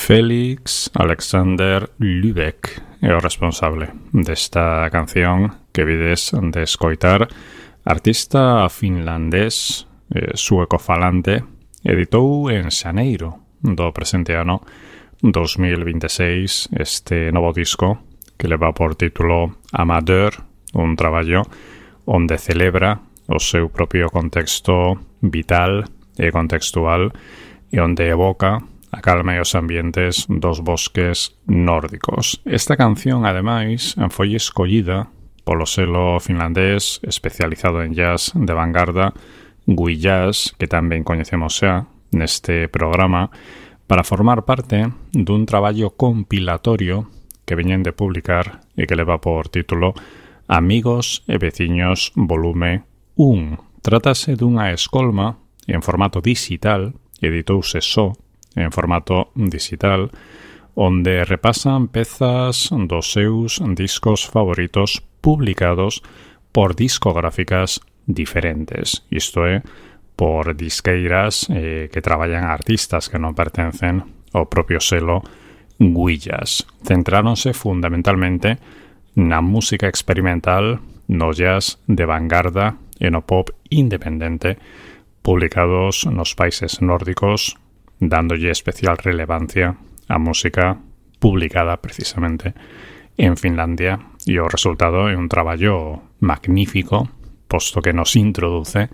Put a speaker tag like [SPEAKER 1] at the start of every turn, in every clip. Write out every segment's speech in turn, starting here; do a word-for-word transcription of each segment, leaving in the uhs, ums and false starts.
[SPEAKER 1] Félix Alexander Lübeck é o responsable desta canción que vides de escoitar. Artista finlandés, eh, suecofalante, editou en xaneiro do presente ano dos mil veintiséis este novo disco que leva por título Amadeur, un traballo onde celebra o seu propio contexto vital e contextual e onde evoca a calma e os ambientes dos bosques nórdicos. Esta canción, ademais, foi escollida polo selo finlandés especializado en jazz de vanguarda Gui Jazz, que tamén coñecemos xa neste programa, para formar parte dun traballo compilatorio que veñen de publicar e que leva por título Amigos e Veciños volume un. Trátase dunha escolma en formato digital, editouse só en formato digital, onde repasan pezas dos seus discos favoritos publicados por discográficas diferentes, isto é, por disqueiras eh, que traballan artistas que non pertencen ao propio selo Gui Jazz. Centráronse fundamentalmente na música experimental, no jazz de vanguarda e no pop independente, publicados nos países nórdicos, dándolle especial relevancia á música publicada precisamente en Finlandia, e o resultado é un traballo magnífico, posto que nos introduce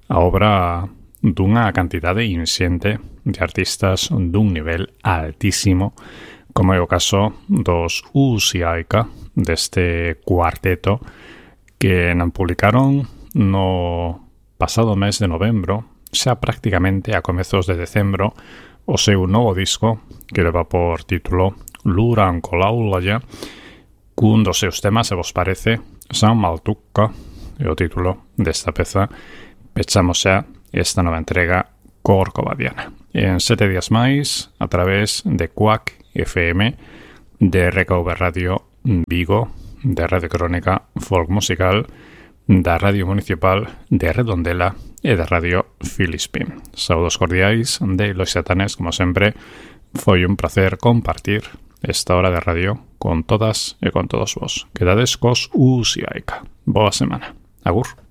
[SPEAKER 1] a obra dunha cantidade inxente de artistas dun nivel altísimo, como é o caso dos Uusiaika, deste cuarteto, que non publicaron no pasado mes de novembro, xa prácticamente a comezos de decembro, o seu novo disco que leva por título Luurankolaulaja, cun dos seus temas, se vos parece, Sammaltukka, é o título desta peza. Pechamos xa esta nova entrega corcovadiana. En sete días máis, a través de Quack F M, de R K V Radio Vigo, de Radio Crónica Folk Musical, da Radio Municipal de Redondela e da Radio Filispín. Saúdos cordiais de Los Xatanes, como sempre. Foi un placer compartir esta hora de radio con todas e con todos vos. Quedades cos Uusiaika. Boa semana. Agur.